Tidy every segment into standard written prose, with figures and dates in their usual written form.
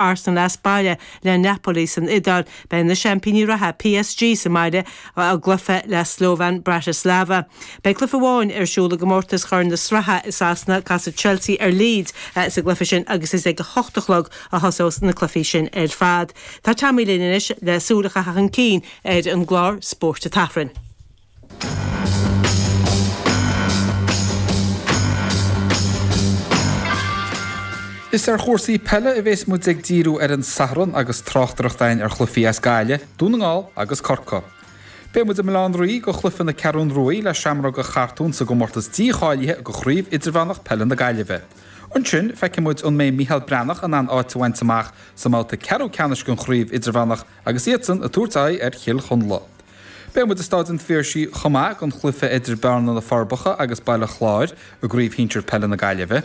Arsenal as baile le Napoli san Iodáil. Beidh na seaimpíní reatha, PSG, sa mbaile i gcluiche le Slovan Bratislava. Beidh cluiche amháin ar siúl i gcomórtas Chorn na Sraithe i Sasana, casfaidh Chelsea ar Leeds sa gcluiche sin agus is ag a hocht a chlog a thosós na cluichí sin ar fad. Tá Tommy linn anois le súil a chaitheamh chun cinn ar an gclár Spóirt an tSathairn. Is ar chúrsaí peile a bhéas muid ag díriú ar an Satharn agus tráchtaireacht againn ar chluichí as Gaillimh, Dún na nGall agus Corcaigh. Beidh muid i mBaile Átha an Rí go chluiche na Ceathrún Ruaidh le Seamróga Chartúin sa gcomórtas dícháilithe go Chraobh Idirmheánach Peile na Gaillimhe. Ansin, feicfidh muid an mbeidh Mícheál Breathnach in ann áit a bhaint amach sa mbabhta ceathrú ceannais den Chraobh Idirmheánach agus iadsan ag tabhairt aghaidh ar Chill Chonla. Beidh muid i Stáid an Phiarsaigh chomh maith don chluiche idir Bearna na Forbacha agus Baile Chláir i gCraobh Shinsir Peile na Gaillimhe.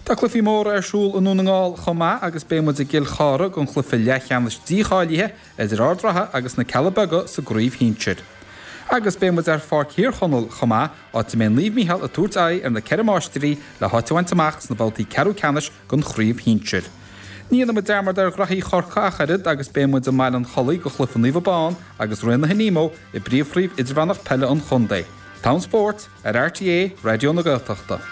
Tá cluichí móra ar siúl i nDún na nGall chomh maith agus beidh muid i gCill Chartha don chluiche leathcheannais dícháilithe idir Ard Ratha agus na Cealla Beaga sa gCraobh Shinsir. Agus beidh muid ar Pháirc Thír Chonaill chomh maith, áit a mbeidh Naomh Mícheál ag tabhairt aghaidh ar na Ceithre Máistrí le háit a bhaint amach sna babhtaí ceathrú ceannais den Chraobh Shinsir. Ní dhéanfaidh muid dearmad ar ghraithí Chorcaí ach oiread agus beidh muid i mBaile an Chollaigh go chluiche Naomh Abán agus Raon na hAiníomó i bpríomhchraobh idirmheánach peile an chontae. T-am spóirt ar RTÉ Raidió na Gaeltachta.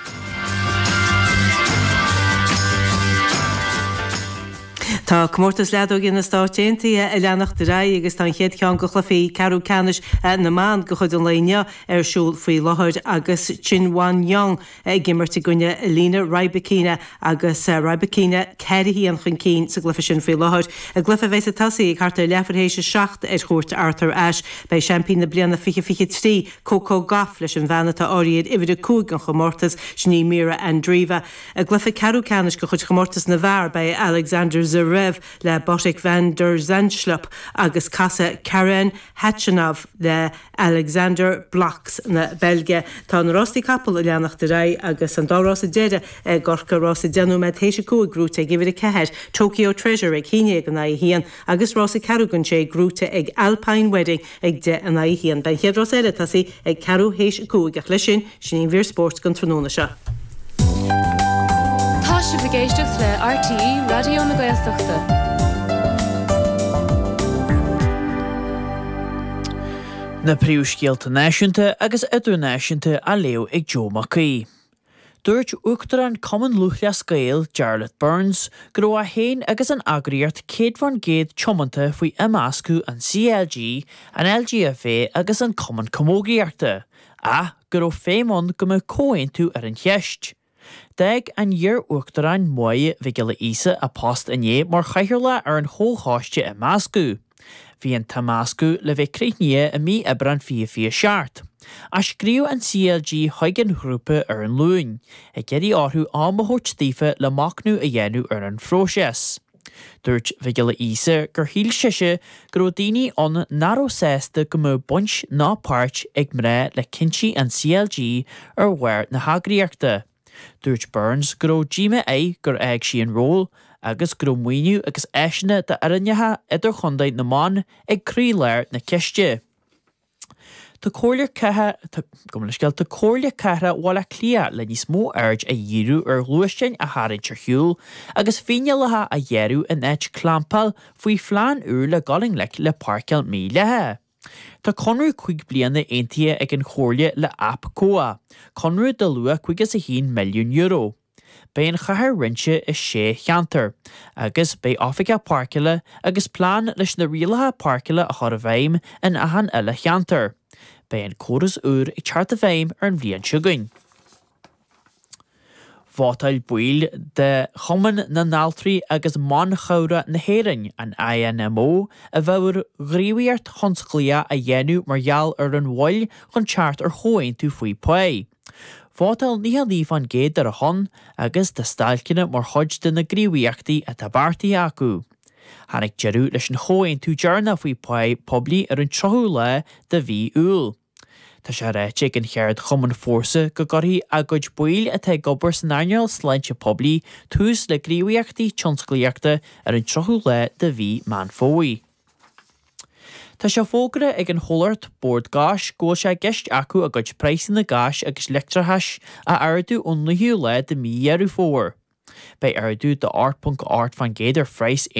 Tá Comórtas Leadóige na Stát Aontaithe ag leanacht ar aghaidh agus tá an chéad cheann de chluichí ceathrú ceannais na mban de chuid an lae inniu ar siúl faoi láthair agus Qin Wanyong ag imirt i gcoinne Elena Rybakina agus Rybakina 4-1 chun cinn sa gcluiche sin faoi láthair. I gcluiche a bheas ag tosaí ag thart ar leathuair théis a 7 ar Chúirt Arthur Ashe, beidh seaimpín na bliana 2023, Coco Gauff leis an bhean atá áirithe ar uimhir 5 den chomórtas, sin í Mirra Andreeva. I gcluiche ceathrú ceannais de chuid chomórtas na bhfear, beidh Alexander Zverev le Botic van der Zandschulp agus casfaidh Karen Khachanov le Alexander Blockx na Beilge. Tá na rástaí capall ag leanacht ar aghaidh agus an dá rása deiridh i gCorcaigh, rása 10 nóiméad théis a 5 gnóite ag uimhir 4, Tokyo Treasure ag 11 in aghaidh 1 agus rása ceathrú don sé gnóite ag Alpine Wedding ag 10 in aghaidh 1. Beidh an chéad rás eile ag tosaí ag ceathrú théis a 5 ach leis sin, sin í an mhír spóirt don tráthnóna seo. Tá sibh ag éisteacht le RTÉ Raidió na Gaeltachta. Na príomhscéalta náisiúnta agus idirnáisiúnta á léamh ag Joe Mac Aoidh. Dúirt Uachtarán Cumann Lúthchleas Gael, Jarlath Burns, go raibh é féin agus an eagraíocht 100% tiomanta faoi imeascadh an CLG, an LGFA agus an Cumann Camógaíochta, ach go raibh feidhm ann go mbeadh comhaontú ar an cheist. D'fhág an iar-uachtarán Máire Mhic Giolla Íosa a post inné mar chathaoirleach ar an chomhchoiste imeascadh. Bhí an t-imeascadh le bheith críochnaithe i mí Aibreán 2027. Ach scríobh an CLG chuig an ghrúpa ar an Luan, ag iarraidh orthu am a thabhairt daofa le machnamh a dhéanamh ar an phróiseas. Dúirt Mhic Giolla Íosa gur shíl sise go raibh daoine ann nach raibh sásta go mbeadh baint ná páirt ag mná le cinntí an CLG ar bharr na heagraíochta. Dúirt Burns go raibh díomá air gur fhág sí an ról agus go raibh maoiniú agus áiseanna d'fhoirneacha idirchontae na mban ag croílár na ceiste. Tá Comhairle Tá Comhairle Cathrach Bhaile Átha Cliath le níos mó aird a dhíriú ar ghluaisteáin a tharraingt ar shiúl agus fíneálacha a ghearradh in áit clampáil faoi phlean úr le dul i ngleic le páirceáil mhídhleathach. Tá conradh 5 bliana aontaithe ag an Chomhairle le APCOA, conradh de luach €51 milliún. Beidh an chathair roinnte i sé cheantar, agus beidh oifigeach páirceála agus plean leis na rialacha páirceála a chur i bhfeidhm in achan uile cheantar. Beidh an córas úr ag teacht i bhfeidhm ar an bhliain seo chugainn. Vótáil baill de Chumann na nAltraí agus mBan Chabhrach na hÉireann, an INMO, i bhfabhar gníomhaíocht thionsclaíoch a dhéanamh mar gheall ar an mhoill chun teacht ar chomhaontú faoi phá. Vótáil 99% ar a shon agus tá stailceanna mar chuid de na gníomhaíochtaí atá beartaithe acu. Tháinig deireadh leis an chomhaontú deireanach faoi phá poiblí ar an 30ú lá de mhí Iúil. Tá sé ráite ag an cheardchumann Fórsa go gcuirfidh a gcuid baill atá ag obair san earnáil sláinte poiblí tús le gníomhaíochtaí tionsclaíochta ar an 30ú lá de mhí Meán Fómhair. Tá sé fógartha ag an chomhlacht Bord Gáis go bhfuil sé i gceist acu a gcuid praghsanna gáis agus leictreachais a ardú ón 9ú lá de mhí Dheireadh Fómhair. Beidh ardú de 8.8% ar phraghas.